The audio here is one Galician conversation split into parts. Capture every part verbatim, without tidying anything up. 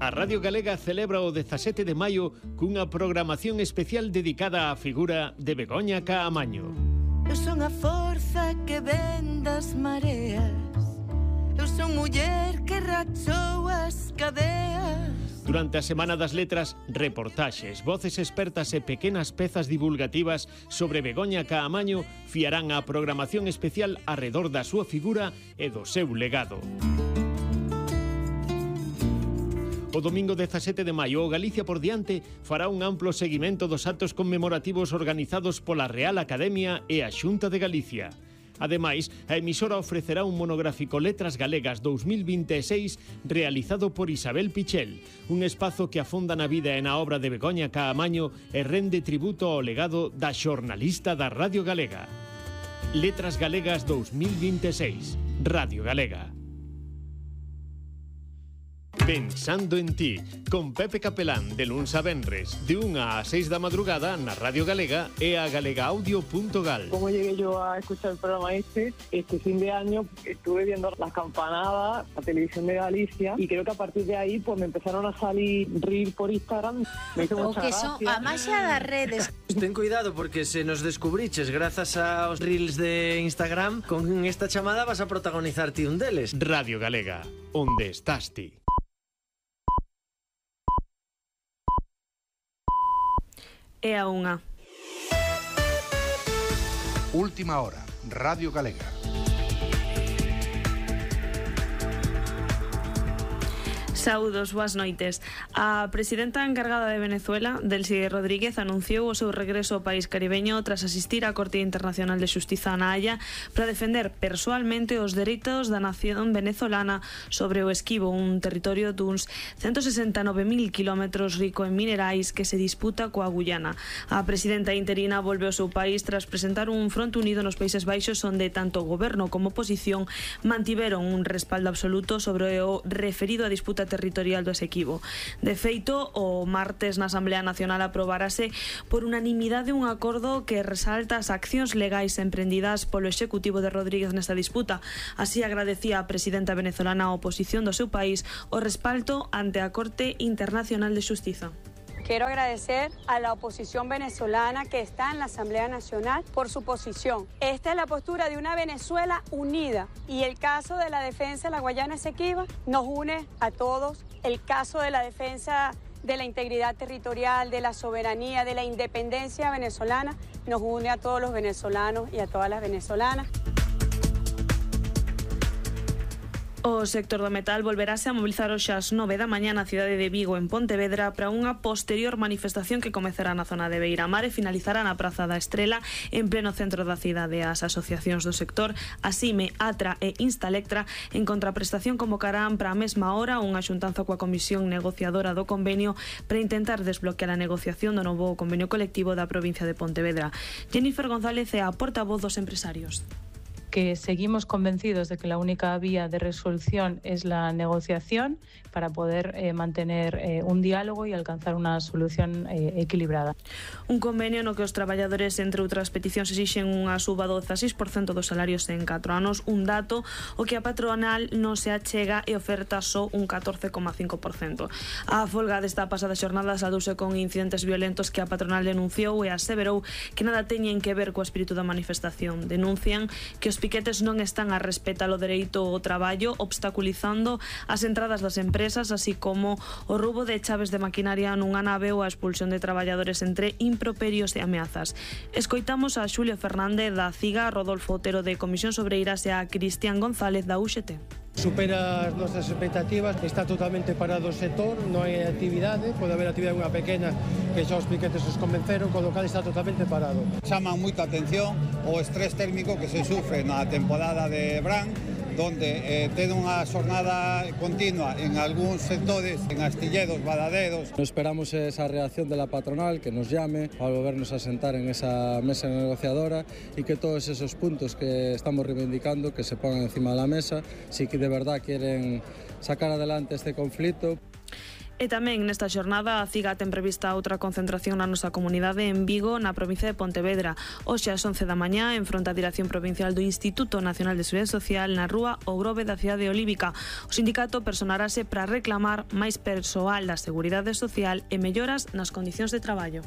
A Radio Galega celebra o dezasete de maio cunha programación especial dedicada á figura de Begoña Caamaño. Eu son a forza que ven das mareas, eu son muller que rachou as cadeas. Durante a Semana das Letras, reportaxes, voces expertas e pequenas pezas divulgativas sobre Begoña Caamaño fiarán a programación especial arredor da súa figura e do seu legado. O domingo dezasete de maio, o Galicia por diante fará un amplo seguimento dos actos conmemorativos organizados pola Real Academia e a Xunta de Galicia. Ademais, a emisora ofrecerá un monográfico Letras Galegas dous mil vinte e seis realizado por Isabel Pichel, un espazo que afonda na vida e na obra de Begoña Caamaño e rende tributo ao legado da xornalista da Radio Galega. Letras Galegas dous mil vinte e seis, Radio Galega. Pensando en ti, con Pepe Capelán, de luns a venres, de unha a seis da madrugada na Radio Galega e a galegaaudio punto gal. ¿Cómo llegué yo a escuchar el programa este? Este fin de año estuve viendo las campanadas, la televisión de Galicia, y creo que a partir de ahí pues me empezaron a salir reels por Instagram. Me hizo mucha o que son gracia. a maxia das redes. Ten cuidado porque se nos descubriches grazas aos reels de Instagram, con esta chamada vas a protagonizar ti un deles. Radio Galega, onde estás ti? É a unha. Última hora, Radio Galega. Saúdos, boas noites. A presidenta encargada de Venezuela, Delcy Rodríguez, anunciou o seu regreso ao país caribeño tras asistir á Corte Internacional de Xustiza na Haia para defender persoalmente os dereitos da nación venezolana sobre o Esquivo, un territorio duns ciento sesenta e nove mil kilómetros rico en minerais que se disputa coa Guyana. A presidenta interina volve ao seu país tras presentar un fronte unido nos Países Baixos onde tanto o goberno como a oposición mantiveron un respaldo absoluto sobre o referido a disputa territorial do Esquivo. De feito, o martes na Asamblea Nacional aprobarase por unanimidade un acordo que resalta as accións legais emprendidas polo Executivo de Rodríguez nesta disputa. Así agradecía a presidenta venezolana a oposición do seu país o respaldo ante a Corte Internacional de Xustiza. Quiero agradecer a la oposición venezolana que está en la Asamblea Nacional por su posición. Esta es la postura de una Venezuela unida y el caso de la defensa de la Guayana Esequiba nos une a todos. El caso de la defensa de la integridad territorial, de la soberanía, de la independencia venezolana nos une a todos los venezolanos y a todas las venezolanas. O sector do metal volverase a mobilizar hoxe ás nove da mañá na cidade de Vigo, en Pontevedra, para unha posterior manifestación que comezará na zona de Beiramar e finalizará na Praza da Estrela, en pleno centro da cidade. As asociacións do sector, Asime, Atra e Instalectra, en contraprestación convocarán para a mesma hora unha xuntanza coa comisión negociadora do convenio para intentar desbloquear a negociación do novo convenio colectivo da provincia de Pontevedra. Jennifer González é a portavoz dos empresarios. Que seguimos convencidos de que la única vía de resolución es la negociación para poder eh, mantener eh, un diálogo y alcanzar una solución eh, equilibrada. Un convenio no que os traballadores, entre outras peticións, exixen unha suba do dezaseis por cento dos salarios en catro anos, un dato o que a patronal non se achega e oferta só un catorce coma cinco por cento. A folga desta pasada xornada saldouse con incidentes violentos que a patronal denunciou e aseverou que nada teñen que ver co espírito da manifestación. Denuncian que os piquetes non están a respetar o dereito ao traballo, obstaculizando as entradas das empresas, así como o roubo de chaves de maquinaria nunha nave ou a expulsión de traballadores entre improperios e ameazas. Escoitamos a Xulio Fernández da CIGA, a Rodolfo Otero de Comisión Sobreiras e a Cristian González da U X T. Supera as nosas expectativas, está totalmente parado o sector, non hai actividade, pode haber actividade unha pequena que xa os piquetes os convenceron, con lo cal está totalmente parado. Chaman moita atención o estrés térmico que se sufre na temporada de verán, donde eh, ten unha xornada continua en algúns sectores, en astilleros, baladeros. Esperamos esa reacción de la patronal, que nos llame para volvernos a sentar en esa mesa negociadora y que todos esos puntos que estamos reivindicando que se pongan encima de la mesa, si que de verdad quieren sacar adelante este conflicto. E tamén nesta xornada a CIGA ten prevista outra concentración na nosa comunidade en Vigo, na provincia de Pontevedra. Hoxe ás once da mañá, en fronte á Dirección Provincial do Instituto Nacional de Seguridade Social, na rúa O Grove da cidade de Olívica. O sindicato personarase para reclamar máis persoal da Seguridade Social e melloras nas condicións de traballo.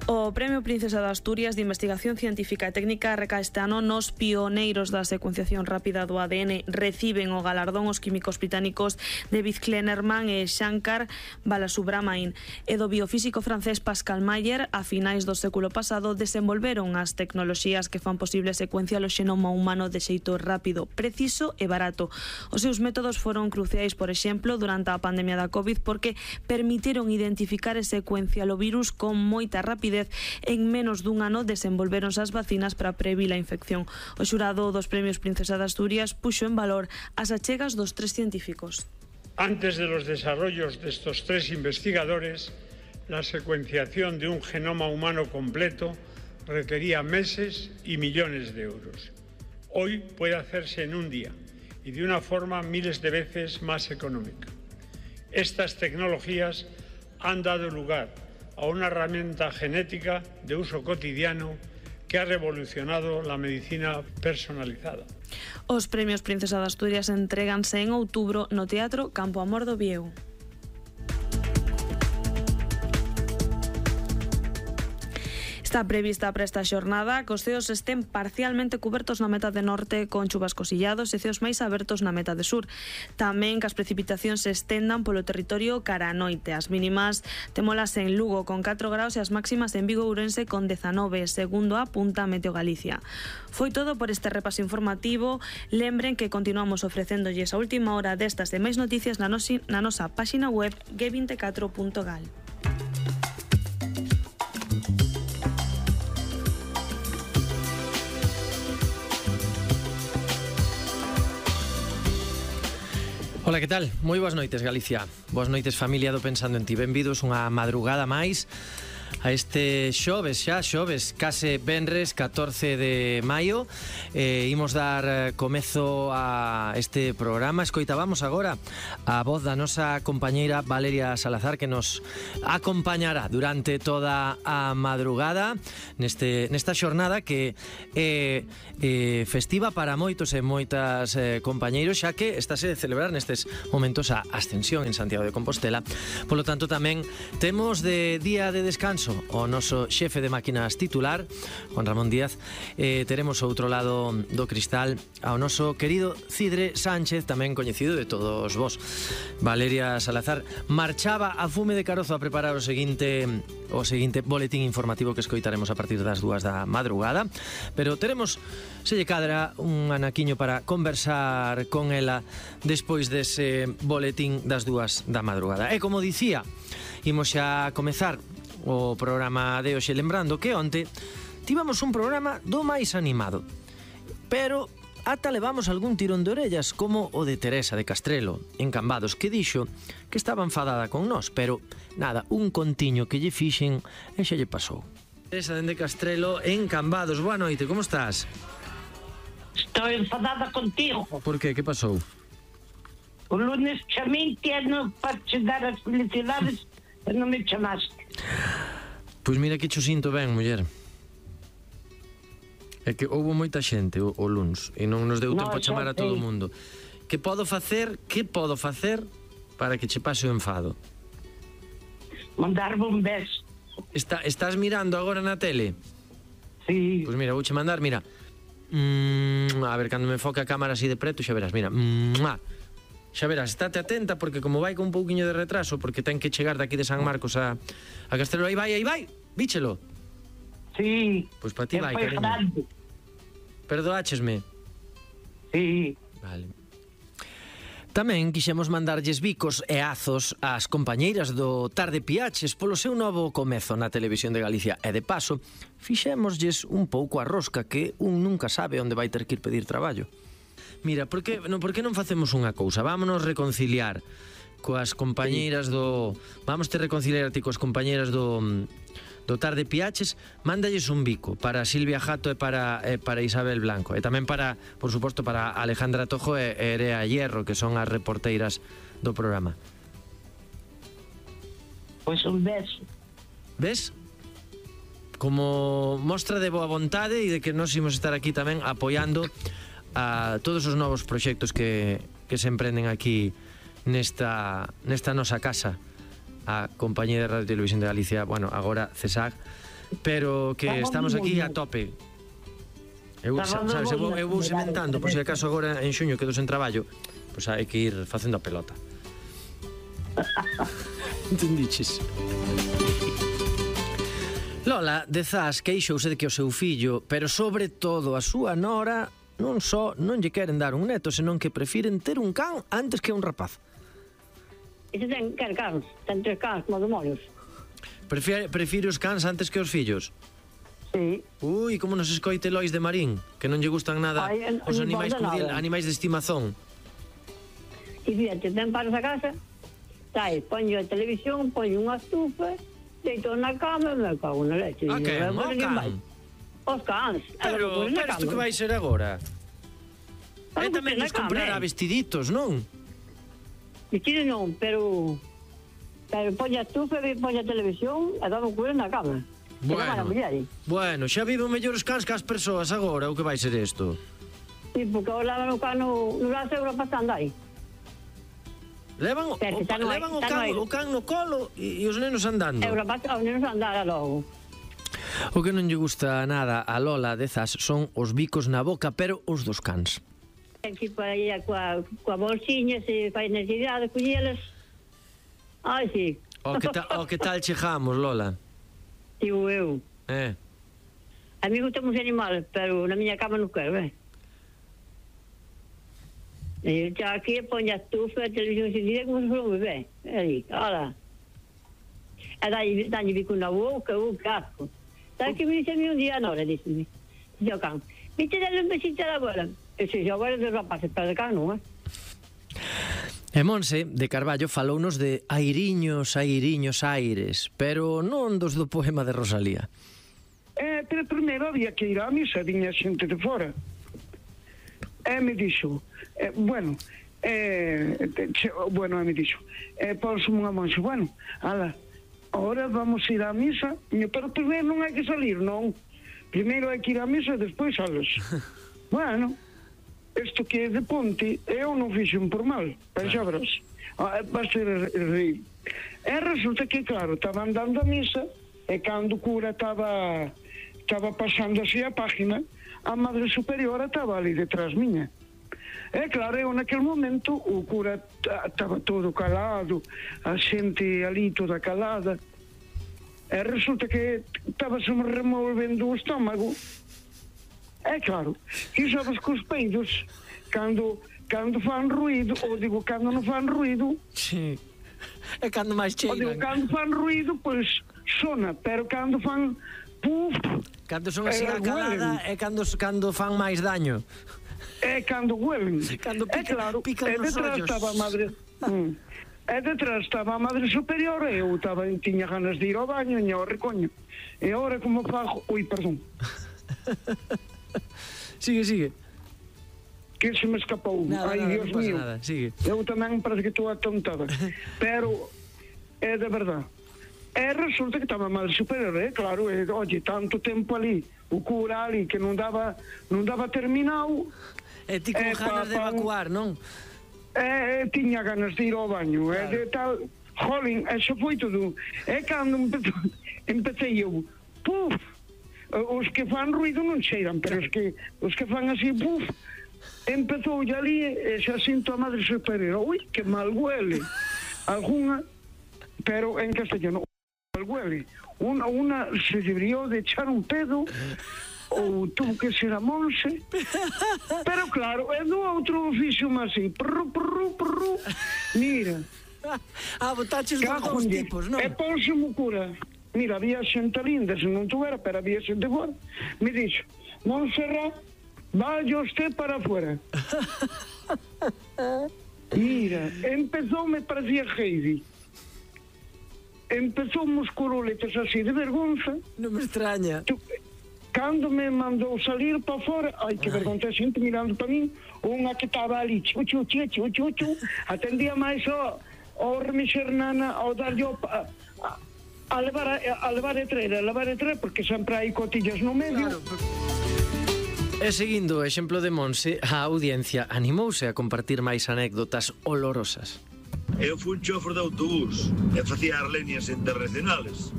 O Premio Princesa de Asturias de Investigación Científica e Técnica recae este ano nos pioneiros da secuenciación rápida do A D N. Reciben o galardón os químicos británicos David Kleinerman e Shankar Balasubramanian e do biofísico francés Pascal Mayer. A finais do século pasado desenvolveron as tecnoloxías que fan posible secuenciar o xenoma humano de xeito rápido, preciso e barato. Os seus métodos foron cruciais, por exemplo, durante a pandemia da COVID, porque permitiron identificar e secuenciar o virus con moita rapidez. En menos dun ano desenvolveronse as vacinas para previr a infección. O xurado dos Premios Princesa de Asturias puxo en valor as achegas dos tres científicos. Antes de los desarrollos de estos tres investigadores, la secuenciación de un genoma humano completo requería meses y millones de euros. Hoy puede hacerse en un día y de una forma miles de veces más económica. Estas tecnologías han dado lugar a una herramienta genética de uso cotidiano que ha revolucionado la medicina personalizada. Os Premios Princesa de Asturias entréganse en outubro no Teatro Campo Amor do Viego. Está prevista para esta xornada que os ceos estén parcialmente cubertos na metade norte con chuvascos illados e ceos máis abertos na metade sur. Tamén que as precipitacións se estendan polo territorio cara a noite. As mínimas témolas en Lugo con catro graus e as máximas en Vigo e Ourense con dezanove, segundo apunta Meteo Galicia. Foi todo por este repaso informativo. Lembren que continuamos ofrecéndolles a última hora destas e máis noticias na, nosi, na nosa páxina web ge veinticuatro punto gal. Ola, que tal? Moi boas noites, Galicia. Boas noites, familia do Pensando en Ti. Benvidos unha madrugada máis a este xoves, xa xoves, case venres, catorce de maio. eh, Imos dar comezo a este programa. Escoitábamos agora a voz da nosa compañeira Valeria Salazar, que nos acompañará durante toda a madrugada neste, nesta xornada que é eh, festiva para moitos e moitas eh, compañeiros, xa que estáse de celebrar nestes momentos a Ascensión en Santiago de Compostela. Polo tanto, tamén temos de día de descanso o noso xefe de máquinas titular, Juan Ramón Díaz. eh, Teremos ao outro lado do cristal ao noso querido Cidre Sánchez, tamén coñecido de todos vos. Valeria Salazar marchaba a fume de carozo a preparar o seguinte o seguinte boletín informativo que escoitaremos a partir das dúas da madrugada, pero teremos, se lle cadra, un anaquiño para conversar con ela despois dese boletín das dúas da madrugada. E como dicía, imos xa comezar o programa de hoxe, lembrando que onte tivamos un programa do máis animado, pero ata levamos algún tirón de orellas, como o de Teresa de Castrelo, en Cambados, que dixo que estaba enfadada con nós, pero nada, un contiño que lle fixen e xa lle pasou. Teresa de Castrelo, en Cambados, boa noite, como estás? Estou enfadada contigo. Por qué? Que pasou? O lunes chamei ano para te dar as felicidades e non me chamaste. Pois mira que cho sinto ben, muller. É que houve moita xente o, o luns e non nos deu no, tempo a chamar a todo o mundo. Que podo facer, que podo facer para que che pase o enfado? Mandarme un beso. Está, estás mirando agora na tele? Sí. Pois mira, vouche mandar, mira. Mm, a ver, cando me enfoque a cámara así de preto, xa verás, mira. Mm, xa verás, estate atenta porque como vai con un pouquiño de retraso, porque ten que chegar daqui de San Marcos a, a Castrelo, aí vai, aí vai, víchelo. Sí. Pois para ti vai, cariño. Perdoáchesme? Sí. Vale. Tamén quixemos mandarlles bicos e azos ás compañeiras do Tarde Piaches polo seu novo comezo na Televisión de Galicia. E de paso, fixémoslles un pouco a rosca, que un nunca sabe onde vai ter que ir pedir traballo. Mira, por que, no, por que non facemos unha cousa? Vámonos reconciliar coas compañeiras do... Vamos te reconciliar ti coas compañeiras do do Tarde Piaches, mándalles un bico para Silvia Jato e para, e para Isabel Blanco, e tamén para, por suposto, para Alejandra Tojo e Erea Hierro, que son as reporteiras do programa. Pois un beso. Ves? Como mostra de boa vontade e de que nos imos estar aquí tamén apoiando a todos os novos proxectos que, que se emprenden aquí nesta, nesta nosa casa, a Compañía de Radio e Televisión de Galicia, bueno, agora CESAG, pero que estamos aquí a tope. Eu, sabes, eu, eu vou sementando, por se acaso agora en xuño quedo sen traballo, pois hai que ir facendo a pelota. Entendiches? Lola, dezás, queixouse de que o seu fillo, pero sobre todo a súa nora, non só non lle queren dar un neto, senón que prefiren ter un can antes que un rapaz. Ese ten quer cans, ten tres cans como demonios. Prefire, prefire os cans antes que os fillos? Sí. Ui, como nos escoite Lois de Marín, que non lle gustan nada Ay, en, os animais cordial, animais de estimazón. E fíjate, ten paros a casa, tai, ponyo a televisión, ponyo unha estufa, deito na cama e me cago na leche. A que? O can? Os cans. Pero, pero isto que vai ser agora? E tamén nos comprará vestiditos, non? Vestidos non, pero... Pero poña a estufa e poña a televisión e dame cuero na cama. Bueno, bueno, xa viven mellores cans que as persoas agora, o que vai ser isto? Sí, porque agora levan o cano no brazo e agora pasa a andar. Levan, o, o, levan o, can, o can no colo e, e os nenos andando. E agora pasa os nenos andar logo. O que non lle gusta nada a Lola dezas son os bicos na boca, pero os dos cans. Aquí para aí coa, coa bolsiña, se fai necesidade de collelas. Ai, sí. O que, ta, o que tal chegamos, Lola? Digo eu. Eh. A mí gustan os animales, pero na miña cama non quero, eh. E xa aquí poña a estufa, a televisión encendida como se for un bebé. Aí, hola. E dalle, dalle bico na boca, o casco. Sabes que me dice a mí un día, Nora, díxeme. Dice ao can, viste darle un besito a la abuela. E se agora dos rapaces, pero de can non, eh? E Monse, de Carballo, falounos de airiños, airiños, aires, pero non dos do poema de Rosalía. Eh, pero primeiro había que ir á misa, viña xente de fora. E me dixo, eh, bueno, eh, che, bueno, e me dixo, eh, pois unha monxa, bueno, ala, ahora vamos ir á misa, pero primeiro non hai que salir, non. Primeiro hai que ir á misa e despois salas. Bueno, isto que é de Ponte, eu non fixen por mal, pero xa verás, vas ter reír. E resulta que, claro, estaba andando a misa, e cando o cura estaba estaba pasando así a página, a Madre Superiora estaba ali detrás miña. E claro, eu naquele momento o cura estaba todo calado, a xente ali toda calada, e resulta que estaba se me removendo o estómago. É claro, e sabes que os peidos, cando, cando fan ruído, ou digo, cando non fan ruído, sí. É cando máis cheiran. Ou digo, cando fan ruído, pois sona, pero cando fan puf, cando son así a calada é cando, cando fan máis daño. É cando huelen. Cando pica, é claro, pican é nos detrás ollos. Estaba a madre, mm, é detrás estaba a Madre Superior e eu estaba, tiña ganas de ir ao baño e ao recoño. E agora como fago... Ui, perdón. Sigue, sigue. Que se me escapou. Nada, Ai, nada, Dios non pasa mío. nada. Sigue. Eu tamén parece que estou atontada. Pero é de verdade. E resulta que estaba a Madre Superior, eh? Claro, e, oye, tanto tempo ali, o cura ali que non daba non daba terminado. E ti con eh, ganas pa, de evacuar, non? E eh, tiña ganas de ir ao baño, claro. E de tal, jolín, eso foi todo. E cando empezou, empecé eu, puf, os que fan ruido non cheiran, pero os que os que fan así, puf, empezou ali e xa sinto a Madre Superior, ui, que mal huele. Alguna, pero en castellano, mal huele. Una, una se debería de echar un pedo, ou tuvo que ser a Monse, pero claro, é do outro oficio máis así, prru, prru, prru, mira. Ah, botaches dos dous tipos, non? E ponse mo cura. Mira, había xente linda, se non tuvera, pero había xente fora. Me dixo, Montserrat, vaya usted para afuera. Mira, empezou, me parecía Heidi. empezou uns curuletes así de vergonza. Non me extraña. Tu, cando me mandou salir para fora, ai, que vergonza, xente mirando para min, unha que estaba ali, chu, chu, chu, chu, chu, chu, atendía máis ao, ao remexer nana, ao darlle a, a, a levar a, a levar a treira, a levar a treira, porque sempre hai cotillas no medio. Claro. E seguindo o exemplo de Monse, a audiencia animouse a compartir máis anécdotas olorosas. Eu fui un chofer de autobús e facía as líneas internacionales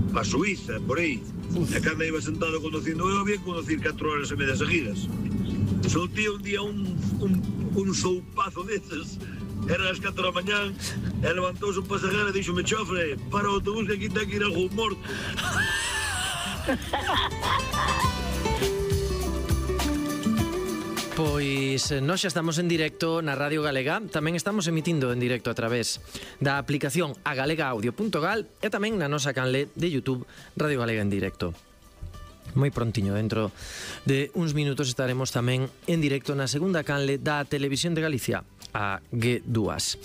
pa Suiza, por aí. E cando iba sentado conducindo eu, había que conducir catro horas e media seguidas. Soltía un día un, un, un soupazo desses. Era as catro da mañán e levantouse un pasajero e dixome: chofre, para o autobús que aquí ten que ir algún morto. Pois nós xa estamos en directo na Radio Galega. Tamén estamos emitindo en directo a través da aplicación a galega audio punto gal e tamén na nosa canle de YouTube Radio Galega en directo. Moi prontiño, dentro de uns minutos estaremos tamén en directo na segunda canle da Televisión de Galicia, a G dúas.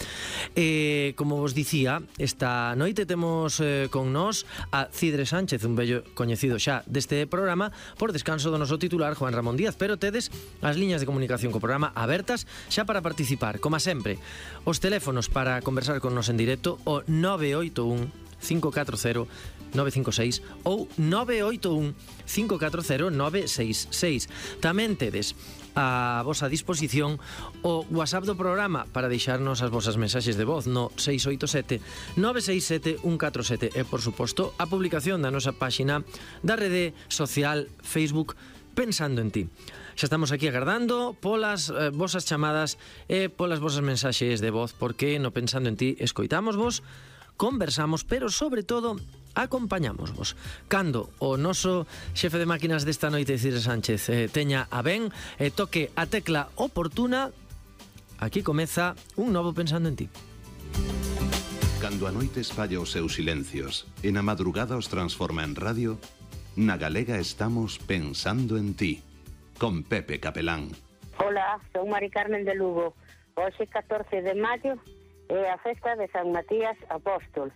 E, como vos dicía, esta noite temos eh, con nós a Cidre Sánchez, un bello coñecido xa deste programa, por descanso do noso titular Juan Ramón Díaz, pero tedes as liñas de comunicación co programa abertas xa para participar, como sempre. Os teléfonos para conversar con nos en directo, o nove oito un cinco catro cero nove cinco seis ou nove oito un cinco catro cero nove seis seis. Tamén tedes a vosa disposición o WhatsApp do programa para deixarnos as vosas mensaxes de voz no seis oito sete nove seis sete un catro sete e, por suposto, a publicación da nosa páxina da rede social Facebook Pensando en Ti. Xa estamos aquí agardando polas eh, vosas chamadas e polas vosas mensaxes de voz, porque no Pensando en Ti escoitamos vos, conversamos, pero sobre todo acompañamos vos. Cando o noso xefe de máquinas desta noite, Cidre Sánchez, eh, teña a ben e eh, toque a tecla oportuna, aquí comeza un novo Pensando en Ti. Cando a noite espalla os seus silencios e na madrugada os transforma en radio, na Galega estamos Pensando en Ti, con Pepe Capelán. Hola, son Mari Carmen de Lugo. Hoxe catorce de maio é a festa de San Matías Apóstol.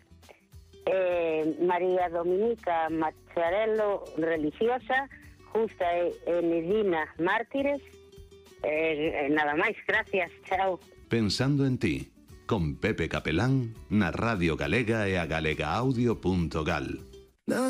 Eh, María Dominica Macharello, religiosa, Justa e Enedina, mártires. Eh, nada máis, gracias, chao. Pensando en Ti, con Pepe Capelán, na Radio Galega e a galega audio punto gal.